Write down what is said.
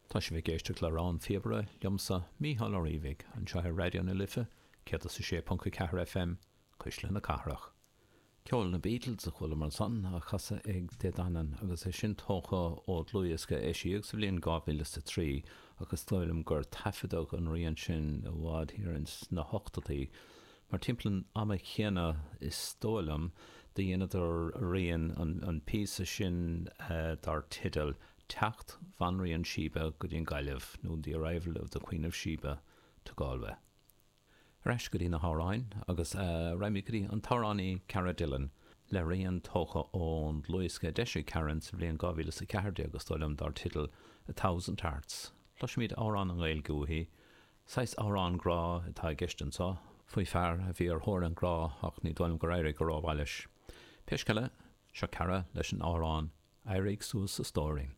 Tá sibh ag éisteacht le Rann na Píobaire liomsa, Mícheál Ó Riabhaigh, anseo ar Raidió na Life 106.4 FM, Cuisle na Cathrach. Ceol na Beatles a chualamar ansan, á chasadh ag Dé Danann, agus é sin tógtha ó dhlúthdhiosca a eisíodh sa bhliain 2003, ach is dóigh liom gur taifeadadh an rian sin i bhfad thiar ins na hochtóidí, mar timpeall an ama chéanna, is dóigh liom, do dheineadar rian, an píosa sin dar teideal Teacht Bhanríon Sheba go dtí an Ghaillimh, nó The Arrival of the Queen of Sheba to Galway. Ar ais go dtí na hamhráin agus raghaimid go dtí an t-amhránaí Cara Dillon le rian tógtha ón dlúthdhiosca a d'eisigh Karen sa bhliain 2014 is dóigh liom dar teideal A Thousand Hearts. Cloisfimid amhrán i nGaeilge uaithi. Saghas amhrán grá atá i gceist anseo, faoi fear a bhí ar thóir an ghrá ach ní dóigh liom gur éirigh go rómhaith leis. Pé scéal é, seo Cara leis an amhrán Éirigh Suas a Stóirín.